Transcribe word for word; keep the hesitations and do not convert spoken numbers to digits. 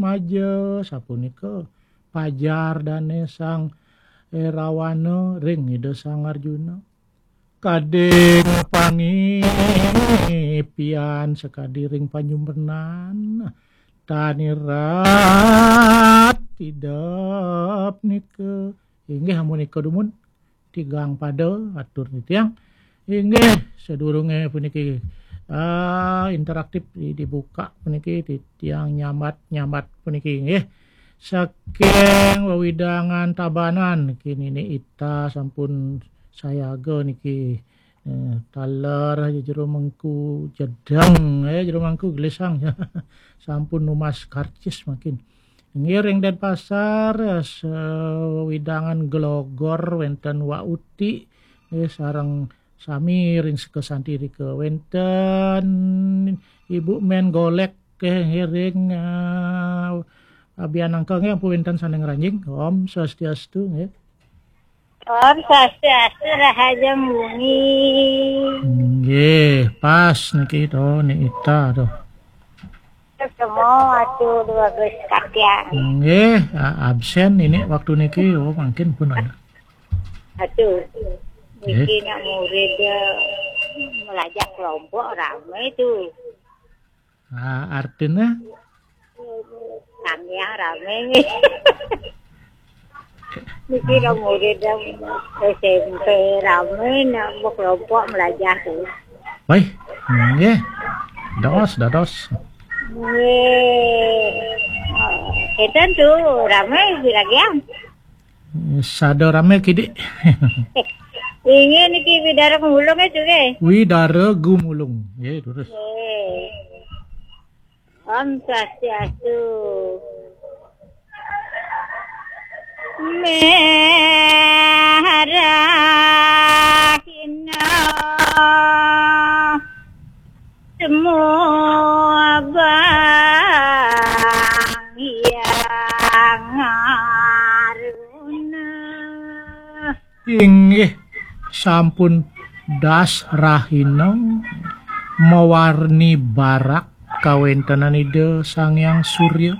Maja, sapunika pajar dane Sang Erawana ring Ida Sang Arjuna. Kading pangipian sakadi ring panyumrenan, tan irat idep nika. Inggih amunika dumun, tigang pada atur titiang. Inggih, sadurunge puniki, ah, interaktif di-, dibuka puniki, titiang nyambat-nyambat puniki, inggih. Saking wewidangan Tabanan niki, Nini Ita sampun sayaga niki. Eh, taler jero mangku jedeng, eh, jero mangku gelisang. Sampun numas karcis mangkin. Ngiring Denpasar, eh, sawidangan Glogor wenten Wa Uti, eh, sareng sami ring Seka Santi rika. Wenten Ibu Men Golek, eh, ngiring, eh, Abian Angka nggih, ampun wenten sane ngranjing. Om Swastiastu, nggih. Om Swastiastu, rahajeng wengi. Nggih, pas niki to, Ni Ita to. Ketemu waktu dua belas katiang. Nggih, a-, absen ini waktu niki, oh, mangkin pun ada. Aduh, niki nak murid, eh, melajah kelompok rame itu. Ah, artinya? Tanggiang rame. Niki nak murid yang S M P rame, nak kelompok melajah tuh. Baik, nggih. Dados, dados. Nggih. Enten tuh rame di Ragiang. Sada rame kidik. Inggih niki Widara Gumulung itu nggih. Widara Gumulung. Nggih, terus. Nggih. Om Swastiastu. Merahina semua bang yang aruna. Inggih, sampun das rahina mawarni barak kawentenan Ida Sang Hyang Surya.